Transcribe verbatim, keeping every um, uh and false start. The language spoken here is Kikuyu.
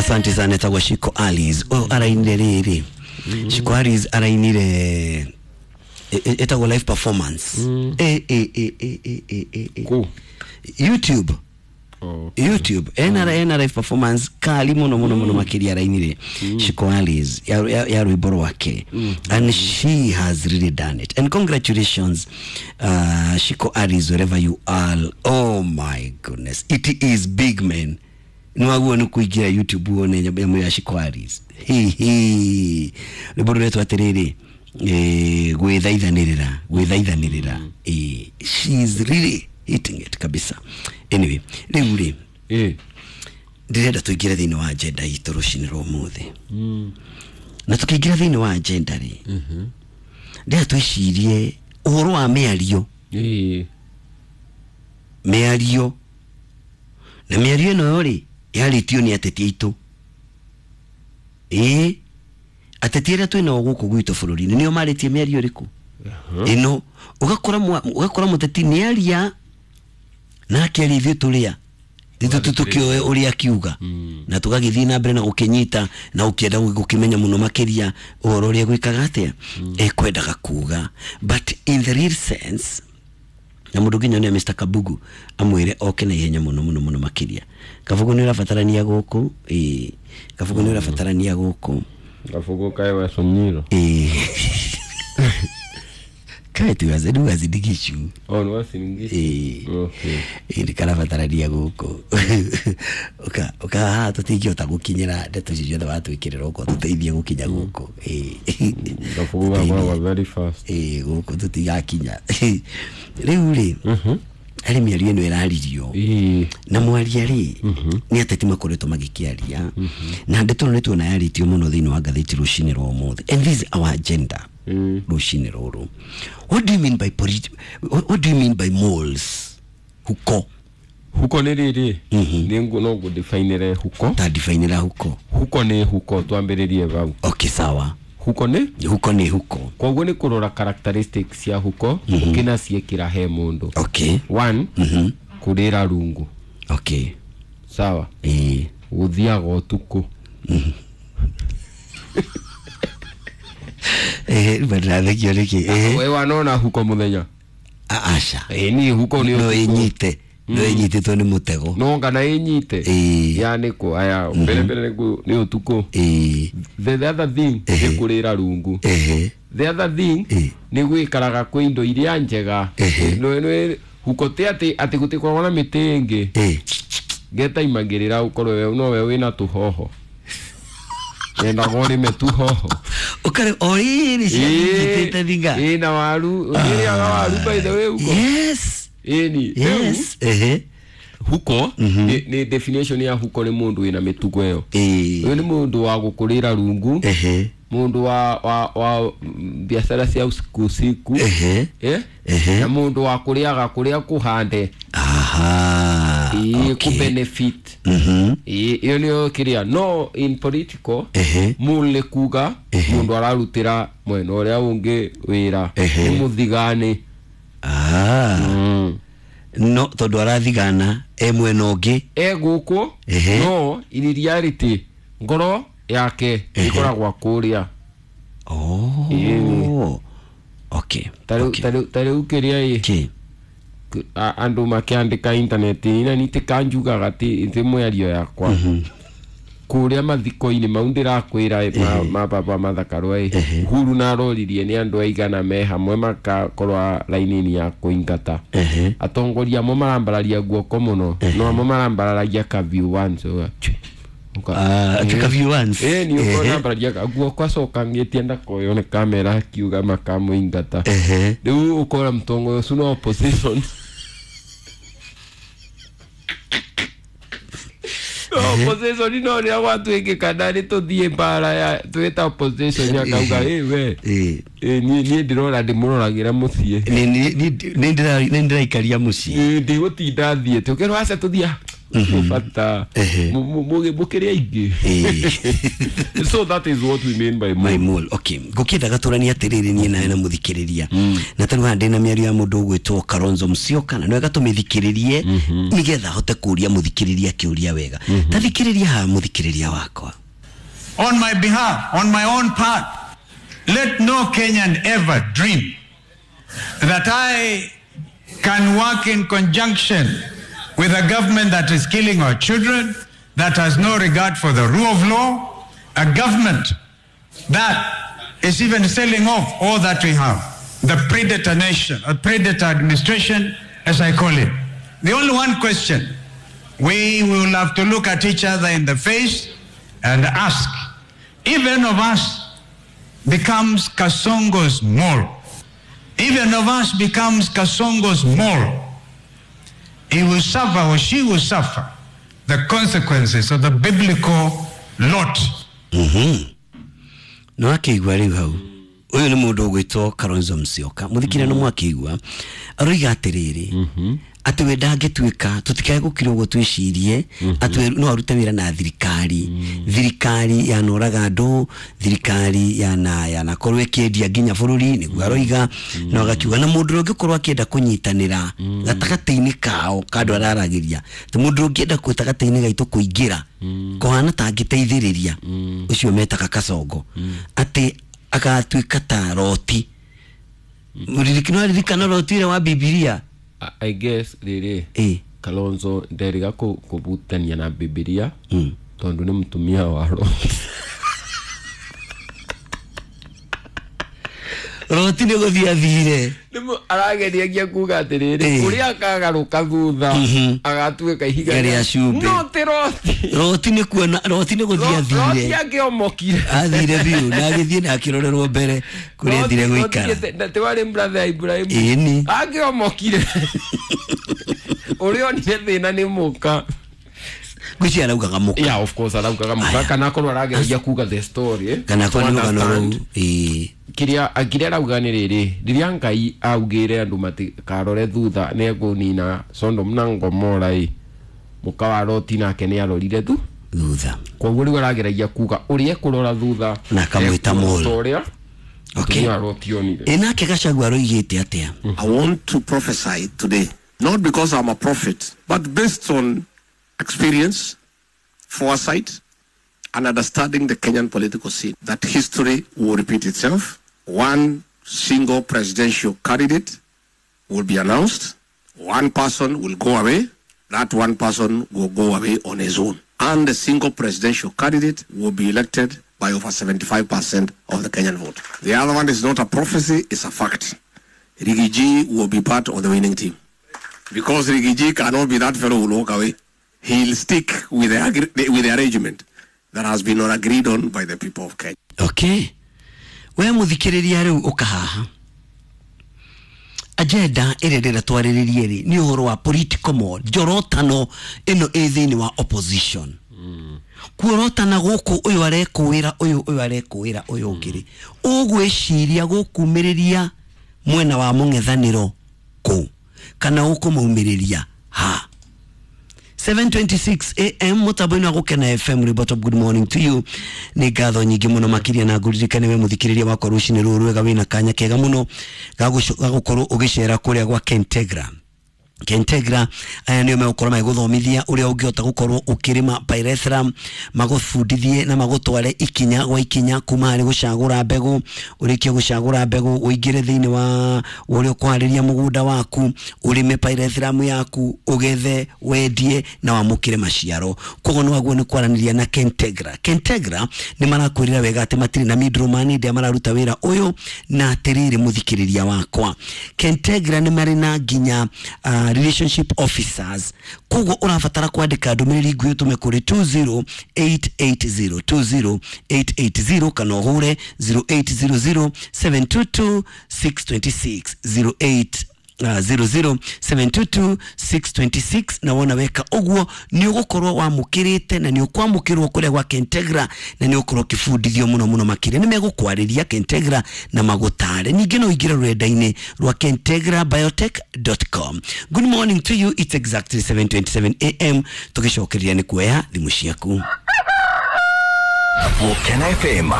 Asante sana etagwo Shiko Alice. Ũyũ arainire rĩrĩ, Shiko Alice arainire etagwo live performance. Eh eh eh eh eh eh eh eh. Kũ? YouTube. Okay. YouTube ena ena live performance kali muno muno muno makiria arainire Shiko Alice ya, ya, ya rwimbo rwake, and she has really done it, and congratulations, uh, Shiko Alice, wherever you are. Oh my goodness, it is big, man. Nwaguo nĩ kũingĩra YouTube wone nyamũ ya Shiko Alice. Hihi rwimbo rũretwo atĩrĩrĩ, eh, gwĩthaithanĩrĩra gwĩthaithanĩrĩra. Eh, she is really hitting it kabisa. Anyway, rĩu rĩ, Eh. ndĩrenda tũingĩre thĩinĩ wa agenda itũ rũcinĩ rwa ũmũthĩ, na tũkĩingĩra thĩinĩ wa agenda rĩ, ndĩrenda twĩcirie ũhoro wa mĩario. Eh. Mĩario, na mĩario ĩno rĩ, yarĩtio nĩ ateti aitũ. Ĩĩ, ateti arĩa twĩnao gũkũ gwitũ bũrũri-inĩ nĩo marĩtie mĩario ĩrĩkũ ĩno. Ũgakora mwa- ũgakora mũteti nĩ aria na akĩaria, ithuĩ tũrĩa ithuĩ tũkĩoe ũrĩa akiuga na tũgagĩthiĩ na mbere na gũkĩnyita na ũkĩenda gũkĩmenya mũno makĩria ũhoro ũrĩa gwĩkaga atĩa ekwendaga kuga. But in the real sense, na mũndũ nginya nĩ Mister Kabugu amwĩre oke na ihenya mũno mũno mũno makĩria. Kabugu nĩ ũrabatarania gũkũ. Ĩĩ, Kabugu nĩ ũrabatarania gũkũ. Kabugu kae wa Somnyiro. Ĩĩ, kae tu rĩu azindigishu. Oh, ni wasingishi. Ĩĩ. Okay. Ĩĩ, nĩ karabatarania gũkũ. Ũka ũka haha tũtingĩhota gũkinyĩra ndeto icio ciothe watwĩkĩrĩra ũko tũteithie gũkinya gũkũ. Ĩĩ. Kabugu gakoragwo very fast. Ĩĩ, gũkũ tũtigakinya. Rĩu rĩ, harĩ mĩario ĩno ĩraririo Ĩĩ. na mwaria rĩ nĩ ateti makoretwo magĩkĩaria, na ndeto ĩno nĩ tuona yarĩtio mũno thĩinĩ wa ngathĩti rũcinĩ rwa ũmũthĩ, and this is our agenda Mm. rũcinĩ rũrũ. What do you mean by polit what, what do you mean by moles, huko? Huko nĩ rĩrĩ, nĩ ngũ no ngũdefinere huko. Ta definera huko. Huko nĩ huko, twambĩrĩrie hau. Okay, sawa. Huko nĩ Huko nĩ huko. Koguo nĩ kũrora characteristics cia huko ũkĩnaciĩkĩra he mũndũ. Okay one, Mhm. kũrĩra rungu. Okay sawa. Ĩĩ. Gũthiaga ũtukũ. Eh, rĩu ndĩrathekio nĩkĩ? Eh. We wanona huko mũthenya? A- aca. Ĩ, niĩ huko nĩ No. ũtukũ. Ĩnyite, no ĩnyitĩtwo nĩ mũtego. No kana ĩnyite. Ĩĩ. Ya nĩkũ aya mbere mbere nĩ nĩ ũtukũ. Ĩĩ. the the other thing nĩ kũrĩra rungu. Ehe. The other thing Ĩĩ. nĩ gwĩkaraga kwĩ indo iria njega. Ehe. Nĩ- nĩ- huko ti atĩ atĩ gũtikoragwo na mĩtĩ ĩngĩ Ĩĩ. getaimagĩrĩra ũkorwo we nowe wĩna tũhoho, yendaga ũrĩme tũhoho. Ũkare o rĩrĩ cianyitĩte thinga. Ĩĩ, na waru. Ũrĩaga waru, by the way, huko? Yes. Ĩni. Rĩu, Yes, ehe. Huko nĩ nĩ definition ya huko nĩ mũndũ wĩna mĩtugo ĩyo. Ĩĩ. Ũyũ nĩ mũndũ wa gũkũrĩra rungu, Ehe. mũndũ wa wa wa mm, biacara cia usiku usiku. Ehe. Eh? Ehe. Na mũndũ wa kũrĩaga kũrĩa kũhande. Aha. Ĩĩ, okay. kũbenefit. Mhm. Ĩĩ, ĩyo nĩyo kĩrĩa. No in political, Ehe. mũndũ nĩ kuga mũndũ ararutĩra mwena ũrĩa ũngĩ wĩra. Ehe. Nĩ mũthigani. Ah. Mm. No tondũ arathigana e mwena ũngĩ. E gũkũ, Ehe. no in reality ngoro yake ĩkoragwo kũrĩa. Oh. Ĩĩ. Okay. Ta rĩu- Okay. ta rĩu- ta rĩu kĩrĩa ĩ, Okay. a- andũ makĩandĩka intaneti-inĩ na nitikanjugaga ti ti mĩario yakwa kũrĩa mathiko-inĩ mau ndĩrakwĩra ĩ, ma- ma baba mathakarwa ĩ, Uhuru naroririe nĩ andũ aigana me hamwe makakorwa raini-inĩ ya kũingata. Ehe. Atongoria amwe marambararia guoko mũno, no amwe marambararagia ka view once, ũga, chwi, ũka- Ah, Ĩ. ka view once. Ĩ, nĩ Ehe. ũkona ambararia guoko acoka ngĩtie ndakoywo nĩ kamera akiuga makamũingata. Ehe. Rĩu ũkora mũtongoria ũcio no opposition, no opposition, no rĩrĩa gwatuĩkĩka nĩ tũthiĩ mbara ya twĩta opposition akauga ĩ we. Ĩĩ. Ĩ, niĩ niĩ ndĩrona ndĩmũroragĩra mũciĩ. Nĩ- nĩ- nĩ- nĩ ndĩra- nĩ ndĩraikaria mũciĩ. Ĩ, ndigũtinda thiĩte ũkerwo aca tũthiĩ. Bata Ehe. Mukiria ingi. Eh. So that is what we mean by my mole. mole. Okay, ngukiendaga turanie atiriri nie nawe na muthikiriria na tariu haha ndina miario ya mundu ugwitwo Kalonzo Musyoka na niwega tumithikiririe nigetha hote kuria muthikiriria kiuria wega. Ta thikiriria haha muthikiriria wakwa. On my behalf, on my own part, let no Kenyan ever dream that I can work in conjunction with a government that is killing our children, that has no regard for the rule of law, a government that is even selling off all that we have, the predator nation, a predator administration, as I call it. The only one question we will have to look at each other in the face and ask, if any of us becomes Kasongo's mole, if any of us becomes Kasongo's mole, he will suffer or she will suffer the consequences of the biblical lot. No akĩigua rĩu hau ũyũ nĩ mũndũ ũgwĩtwo Kalonzo Musyoka mũthikire no mwakĩigua aroiga atĩrĩrĩ atĩ we ndangĩtuĩka tũtikae gũkira ũguo twĩcirie atĩ we no arute wĩra na thirikari thirikari yanoraga andũ thirikari yana yanakorwo ĩkĩendia nginya bũrũri nĩguo aroiga na agakiuga na mũndũ ũrĩa ũngĩkorwo akĩenda kũnyitanĩra gatagatĩ-inĩ kao ka andũ araragĩria atĩ mũndũ ũrĩa ũngĩenda gatagatĩ-inĩ gaitũ kũingĩra kũhana ta angĩteithĩrĩria ũcio metaga Kasongo atĩ agatuĩka ta Roti. Mũririkano aririkana Roti ũrĩa wa Bibilia. I guess riri ĩ Kalonzo nderiga kũbutania na Bibilia tondu nĩ mũtumia wa Roti. Roti nĩ gũthiĩ athire. Nĩmo arageriagia kuga atĩrĩrĩ Ĩ. ũrĩa akagarũka thutha agatuĩka ihiga Rĩa cumbĩ. No ti Roti. Roti nĩ kuona Roti nĩ gũthiĩ Roti athire. angĩomokire. Athire biũ na agĩthiĩ na akĩrorerwo mbere kũrĩa athire gũikara. Ti warĩ brother ya Ibrahimu. Ĩni. Angĩomokire ũrĩa onire thĩna nĩ mũka. Ngwĩciria araugaga mũka. Yeah, of course araugaga mũka kana akorwo arageragia kuga the story eh, kana akorwo to nĩ rũgano understand. rũu ĩĩ. Kiria kiria arauga nĩ rĩrĩ rĩrĩa Ngai augire andũ matikarore thutha nĩ ekũnina Sodom na Gomora ĩ mũka wa Loti nake nĩ arorire thu thutha. Koguo rĩu arageragia kuga ũrĩa ekũrora thutha Na akamwĩta mole. ta ũrĩa Okay. mũtumia wa Loti onire. Ĩ nake Gachagua aroigĩte atĩa? I want to prophesy today, not because I'm a prophet, but based on experience, foresight, and understanding the Kenyan political scene, that history will repeat itself. One single presidential candidate will be announced. One person will go away. That one person will go away on his own. And the single presidential candidate will be elected by over seventy-five percent of the Kenyan vote. The other one is not a prophecy, it's a fact. Riggy G will be part of the winning team. Because Riggy G cannot be that fellow who will walk away. He'll stick with the, agri- with the arrangement that has been agreed on by the people of Kenya. Okay, we muthikiriria riu ukahaha agenda ĩrĩa ndĩrenda twarĩrĩrie rĩ nĩ ũhoro wa political mode njorotano ĩno ĩ thĩinĩ wa opposition kuorotana gũkũ ũyũ arekũĩra ũyũ ũyũ arekũĩra ũyũ ũngĩ rĩ ũgwĩciria gũkumĩrĩria mwena wa mũng'ethanĩro kũ kana ũkũmaumĩrĩria ha. seven twenty-six A M mutambo-inĩ wa Gũkena F M Ribot. Good morning to you. Nĩ ngatho nyingĩ mũno makĩria na ngũririkane we mũthikĩrĩria wakwa rũcinĩ rũrũ rwega wĩna kanya kega mũno ga gũkorwo ũgĩcera kũrĩa gwa Kentegra. Kentegra aya nĩo megũkorwo magĩgũthomithia ũrĩa ũngĩhota gũkorwo ũkĩrĩma pyrethrum, magũbundithie na magũtware ikinya gwa ikinya kuma harĩ gũcagũra mbegũ, ũrĩkie gũcagũra mbegũ ũingĩre thĩinĩ wa ũrĩa ũkũharĩria mũgũnda waku, ũrĩme pyrethrum yaku, ũgethe, wendie na wamũkĩre maciaro. Koguo nĩ waguo nĩ kwaranĩria na Kentegra. Kentegra nĩ marakwĩrĩra wega atĩ matirĩ na middleman hĩndĩ ĩrĩa mararuta wĩra ũyũ na atĩrĩrĩ mũthikĩrĩria wakwa Kentegra nĩ marĩ na nginya uh, relationship officers. Koguo ũrabatara kwandĩka ndũmĩrĩri nguhĩ ũtũme kũrĩ two zero eight eight zero two zero eight eight zero kana ũhũre zero eight zero zero seven two two six two six zero eight. zero zero seven two two six twenty six na wona weka ũguo nĩ ũgũkorwo wamũkĩrĩte na nĩ ũkwamũkĩrwo kũrĩa gwa Kentegra na nĩ ũkorwo ũkĩbundithio mũno mũno makĩria. Nĩ megũkwarĩria Kentegra na magũtare. Ningĩ no ũingĩre rũrenda-inĩ rwa kentegra biotech dot com. Good morning to you, it's exactly seven twenty-seven A M. Tũgĩcokereria nĩ kuoya thimũ ciaku. Volcano F M.